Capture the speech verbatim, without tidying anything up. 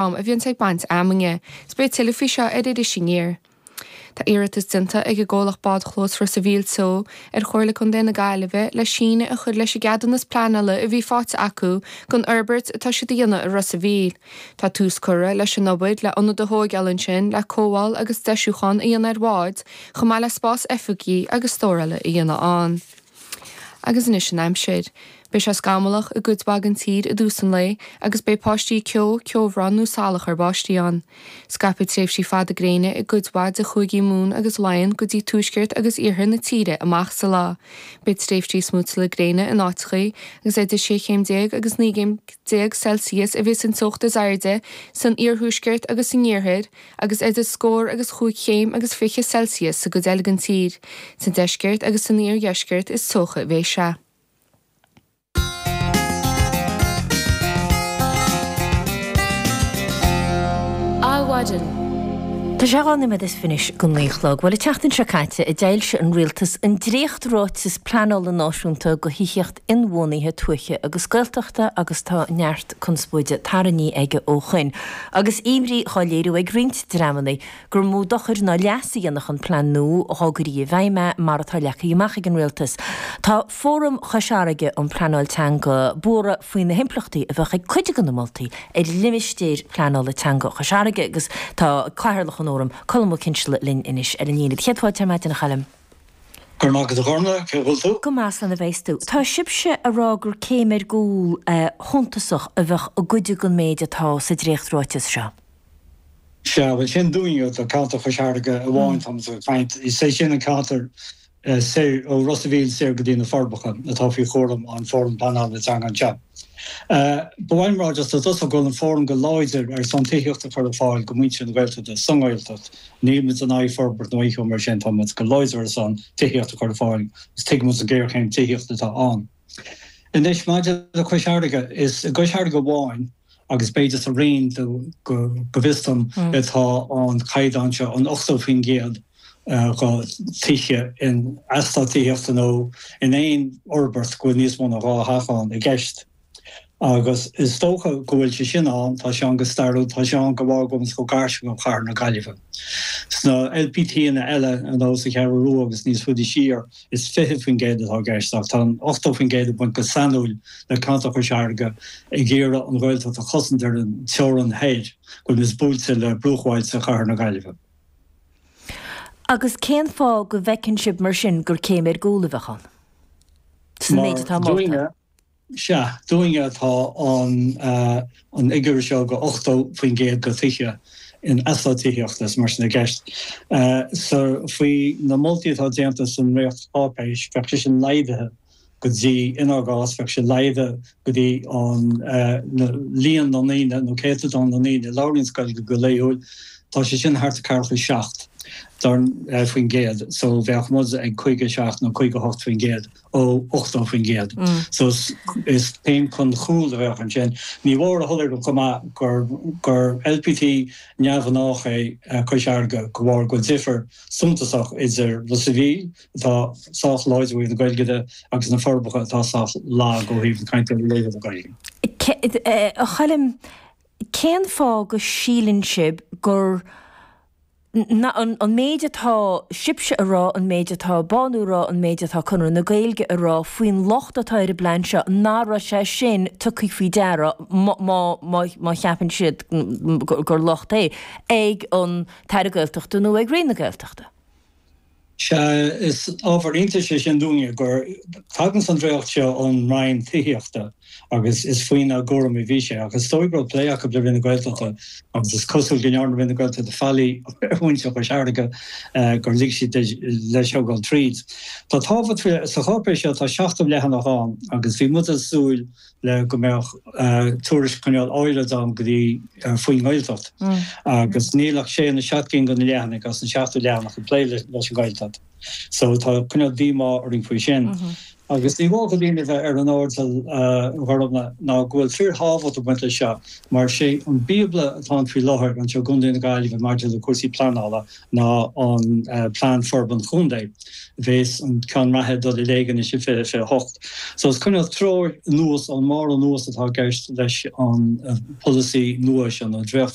Am a bhíonn ag baint fheamainne. 'S beidh tuilleadh faoi seo ar Iris Aniar. Tá iarratas déanta ag an gcomhlacht Bádchlós Ros a' Mhíl Teo ar Chomhairle Contae na Gaillimhe le síneadh a chur leis an gceadúnas pleanála a bhí faighte acu don fhorbairt atá siad a dhéanamh i Ros a' Mhíl. Tá tús curtha leis an obair le ionad a thóigeáil ansin le cothabháil agus deisiúchán a dhéanamh ar bháid chomh maith le spás oifigí agus stórála a dhéanamh ann. Agus anois an aimsir. Beidh sé scamallach i gcuid mhaith den tír i dtús an lae agus beidh paistí ceo, ceobhrán nó salach ar báistí ann. Scaipfidh tréimhsí fada gréine i gcuid mhaith de chúigí Mumhan agus Laighean go dtí tuaisceart agus iarthar na tíre amach sa lá. Beidh tréimhsí smúiteála gréine in áiteachaí agus idir sé chéim déag agus naoi gcéim déag Celsius a bheas an teocht is airde san iarthuaisceart agus san iarthar agus idir scór agus chúig chéim agus fiche Celsius sa gcuid eile den tír. Sa deisceart agus san iardheisceart is teocha a bheidh sé. Adhmhaidin. Tá sé dhá nóiméad is fiche anois go naoi a chlog. Bhuel, an tseachtain seo caite a d'fhoilsigh an Rialtas an dréacht-ráiteas pleanála náisiúnta do thithíocht inbhuanaithe tuaithe agus Gaeltachta agus tá neart conspóide tarraingthe aige ó shoin agus imní á léiriú ag roinnt dreamanna gur mó dochar ná leas a dhéanfadh an plean nua dá gcuirí i bhfeidhm é mar atá leagtha amach ag an Rialtas. Tá Fóram Chois Fharraige um Pleanáil Teanga buartha faoi na himpleachtaí a bheadh ag cuid de na moltaí ar limistéar pleanála teanga Chois Fharraige agus tá Cathaoirleach an Fhóraim, Colm Ó Cinnseala linn anois ar an líne. Céad fáilte ar maidin a Choilm. Go raibh maith agat a Ghormfhlaith, cén chaoi a bhfuil tú? Go maith, slán a bheas tú. Tá sibhse a rá gur céim ar gcúl shuntasach a bheadh i gcuid den méid atá sa dréacht-ráiteas seo. Sea, bhuel sin dúinne, do cheantar Chois Fharraige amháin táimid ag caint. Is é sin an ceantar soir, ó Ros a' Mhíl soir go dtí na Forbacha, atá faoi chúram an Fóram Pleanála Teanga anseo. Ba mhaith liom a rá just i dtosach go bhfuil an Fóram go láidir ar son tithíocht a chur ar fáil go muintir na Gaeltachta sa nGaeltacht. Níl muid in aghaidh forbairt nó aon cheo mar sin, tá muid go láidir ar son tithíocht a chur ar fáil agus tuigimid an ghéarchéim tithíochta atá ann. Anois maidir le Cois Fharraige, is i gCois Fharraige amháin agus b'fhéidir sa Rinn go bhfios dom atá an caighdeán seo, an ochtó faoin gcéad de thithe in eastát tithíochta nó in aon fhorbairt go bhfuil níos mó ná dhá theach ann i gceist. Agus is dócha go bhfuil sé sin ann, tá sé ann go stairiúil, tá sé ann de bharr go bhfuil muid chomh gar sin go Cathair na Gaillimhe. Sna LPTanna eile, ar nós an Cheathrú Rua agus níos faide siar, is fiche faoin gcéad atá i gceist ach tá an ochtó faoin gcéad ag baint go sainiúil le ceantar Chois Fharraige ag iarraidh an Ghaeltacht a chosaint ar an teorainn thoir, go bhfuil muid buailte le bruachbhailte Chathair na Gaillimhe. Agus cén fáth go bhfeiceann sibh mar sin gur céim ar gcúl a bheadh ann sa Mar méid atá molta? dúinne, Sea, dúinne tá an an fhigiúr seo de ochtó faoin gcéad de thithe in eastát tithíochta is mar sin i gceist. So faoi na moltaí atá déanta sa ndréacht-cháipéis, bheadh sé sin laghdaithe go dtí, inár gcás, bheadh sé laghdaithe go dtí an líon na ndaoine nó céatadán na ndaoine a labhraíonns Gaeilge go laethúil, tá sé sin thart ar ceathracha a seacht faoin gcéad, so bheadh muid ag caoga a seacht nó caoga a hocht faoin gcéad. ó ochtó faoin gcéad. So is céim chun cúil a bheadh ansin. Ní mór a shoiléiriú chomh maith gur gur LPT neamhghnách é Cois Fharraige de bharr go bhfuil difear suntasach idir Ros a' Mhíl, atá sách láidir ó thaobh na Gaeilge de, agus na Forbacha, atá sách lag ó thaobh na cainteoirí laethúla Gaeilge. A Choilm, cén fáth go síleann sibh gur an méid atá sibhse a rá, an méid atá Bánú a rá, an méid atá Conradh na Gaeilge a rá faoin locht atá ar an bplean seo, nach raibh sé sin tugtha faoi deara, má cheapann siad gur locht é, ag an tAire Gaeltachta nó ag Roinn na Gaeltachta. Sea, is ábhar iontais é sin dúinne gur tagann an dréacht seo ón Roinn Tithíochta agus is faoina gcúram a bhí sé ach is dóigh go raibh plé acu le Roinn na Gaeltachta agus is cosúil go ndearna Roinn na Gaeltachta faillí ar mhuintir Chois Fharraige gur lig siad leis seo dul tríd. Tá tábhacht faoi sa cháipéis seo tá seachtó leathanach ann agus bhí muid ag súil le go mbeadh tuairisc cineál áirid ann go dtí faoin nGaeltacht agus níl ach sé nó seacht gcinn de na leathanaigh as an seachtó leathanach ag plé leis an Ghaeltacht. So tá cineál díomá orainn faoi sin. Agus ní mór do dhaoine bheith ar an airdeall ghormna ná go bhfuil fíorthábhacht ag baint leis seo mar sé an bíobla atá ann faoi láthair anseo i gContae na Gaillimhe maidir le cúrsaí pleanála ná an Plean Forbartha Contae, a bheas an ceann reatha ag dul i léig anois i fiche fiche hocht. So is cineál treoir anuas ón mbarr anuas atá i gceist leis an polasaí nua seo nó dréacht